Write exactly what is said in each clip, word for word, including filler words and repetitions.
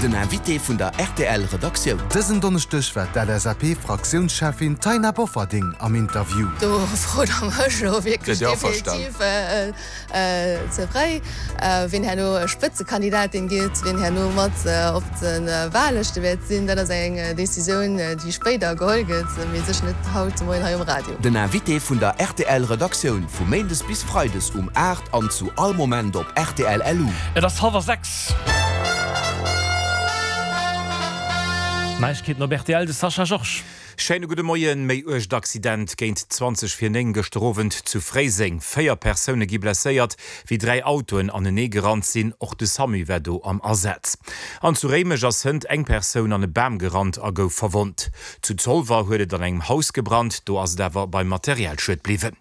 Den Invité vun der rtl Redaktioun. Dësen Donneschdeg war d'LSAP-Fraktiounscheffin Taina Bofferding am Interview. Do frot der mech elo wierklech definitiv ze fréi, wien herno Spëtzekandidatin gétt, wien herno mat op de Wahllëschte wäert sinn. Dat ass eng Decisioun, déi spéider geholl gëtt, mee sécher net haut de Moien hei um Radio. Den Invité vun der rtl Redaktioun vu méindes bis freides um aacht an zu all Moment op rtl. Lu. Et ass hallwer sechs. Neiegkeeten op rtl, de Sascha Georges. Schéine gudde Moien. Méi uergt Accident géint zwanzeg vir néng gëschter Owend zu Fréiseng. Véier Persoune gi blesséiert, wéi dräi Autoen anenee gerannt sinn. Och de Samu war do am Asaz. An zu Réimech ass hënt eng Persoun an e Bam gerannt a gouf verwonnt. Zu Zolwer huet et an engem Haus gebrannt, do ass et awer beim Materialschued bliwwen.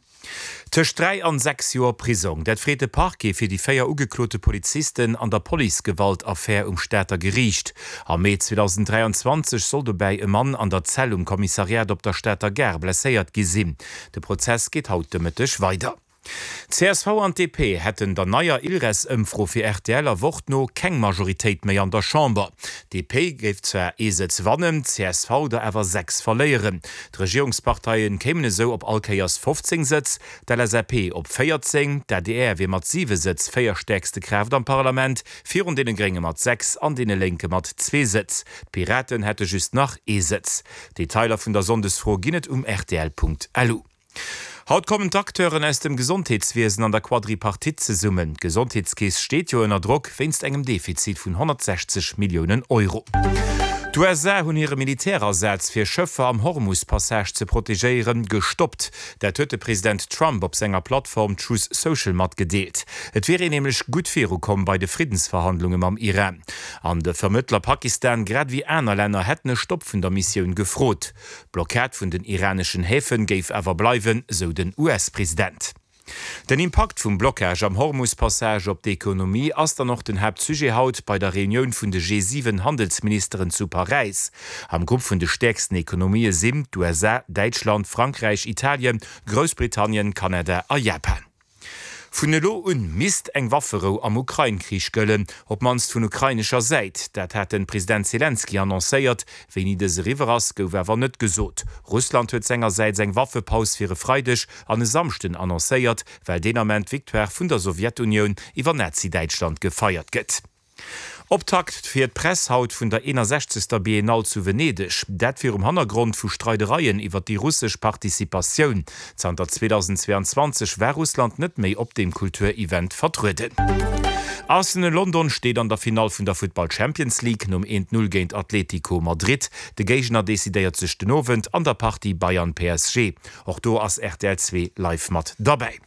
Tëscht dräi an sechs Joer Prisong, dat freet de Parquet fir déi véier ugeklote Polizisten an der Policegewalt-Affär um Stater Geriicht. Am Mee zweedausenddräianzwanzeg soll dobäi e Mann an der Zell um Kommissariat op der Stater Gare blesséiert gi sinn. De Prozess geet haut de Mëtteg weider. Csv an D P hätten der neier Ilres-Ëmfro fir R T L a Wort no keng Majoritéit méi an der Chamber. D P géif zwar ee Sëtz wannen, C S V der awer sechs verléieren. D'Regierungsparteie kéimen esou op all Kéiers fofzéng Sëtz, d'L S A P op véierzéng, d'A D R wier mat siwe Sëtz véierstäerkste Kraaft am Parlament, virun deene Grénge mat sechs an deene Lénke mat zwee Sëtz. D'Piraten hätte just nach ee Sëtz. Detailer vun der Sonndesfro ginn et um rtl Punkt lu. Haut kommen d'Acteuren aus dem Gesondheetswiesen an der Quadripartite zesummen. D'Gesondheetskeess steet jo ënner Drock wéinst engem Defizit vun honnertsechzeg Milliounen Euro. D'U S A hunn hire Militärasaz fir Schëffer am Hormus-Passage ze protegéieren, gestoppt. Dat huet de President Trump op senger Plattform Truth Social matgedeelt. Et wier een nämlech gutt virukomm bei de Friddensverhandlunge mam Iran. An de Vermëttler Pakistan grad ewéi aner Länner hätten e Stopp vun der Missioun gefrot. D'Blockad vun den iraneschen Häfe géif awer bleiwen, sou den U S-President. Den Impakt vum Blockage am Hormus-Passage op d'Ekonomie ass dann och den Haaptsujet haut bei der Reunioun vun de G siwen Handelsministeren zu Paräis. Am Grupp vun de stäerksten Ekonomië sinn d'U S A, Däitschland, Frankräich, Italien, Groussbritannien, Kanada a Japan. Vun elo un misst eng Wafferou am Ukrain-Krich gëllen, op d'mannst vun ukrainescher Säit. Dat hat de President Selenskyj annoncéiert. Wéini dës eriwwer ass, gouf awer net gesot. Russland huet sengersäits eng Waffepaus fir e Freideg an e Samschden annoncéiert, well deen Ament d'Victoire vun der Sowjetunioun iwwer Nazi-Däitschland gefeiert gëtt. Optakt fir d'Press haut vun der eenasechzegster. Biennale zu Venedeg. Dat virum Hannergrond vu Streidereien iwwer déi russesch Participatioun. Zanter zweedausendzweeanzwanzeg war Russland net méi op deem Kulturevent vertrueden. Arsenal London steet an der Finall vun der Futtball Champions League nom eent Null géint Atlético Madrid. De Géigner decidéiert sech den Owend an der Partie Bayern-P S G. Och do ass R T L zwee live mat derbäi.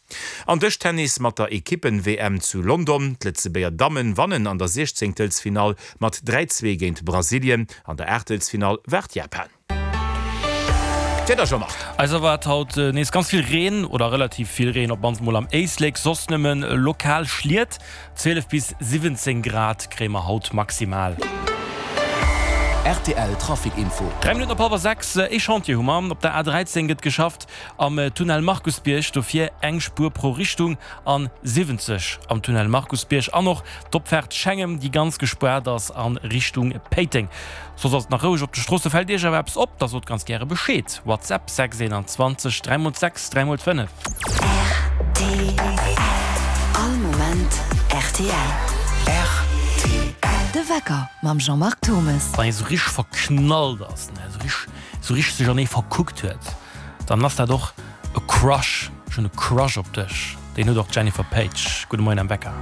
An Dëschtennis mat der Ekippen-W M zu London. D'Lëtzebuerger Dammen wannen an der Siechzéngtelsfinall mat dräi zwee géint Brasilien. An der Aachtelsfinall waart Japan. D'Wieder, Jean-Marc. Eis erwaart haut nees ganz vill Reen oder relativ vill Reen, op d'mannst mol am Éislek, soss nëmmen lokal Schliet. zwielef bis siwwenzéng Grad kréie mer haut maximal. R T L Trafic Info. Dräi Minutten op hallwer sechs, Ee Chantier hu mer. Op der A dräizéng gëtt geschafft am Tunnel Markusbierg, dofir eng Spuer pro Richtung an siwwenzeg am Tunnel Markusbierg an och d'Opfaart Schengem, déi ganz gespaart ass a Richtung Péiteng. Soss ass et nach roueg op de Stroosse. Fält Iech awer eppes op, da sot ganz gäre Bescheed. WhatsApp sechs eenanzwanzeg dräi mol sechs dräi mol fënnef. R T L. All Moment R T L. R T L. De Wecker mam Jean-Marc Thomes. Wann ee sou richteg verknallt ass, ne, sou richteg, sou richteg sech an ee verkuckt huet, dann ass dat och e Crush. Ech hunn e Crush op dech. Deen huet och d'Jennifer Paige. Gudde Moien am Wecker.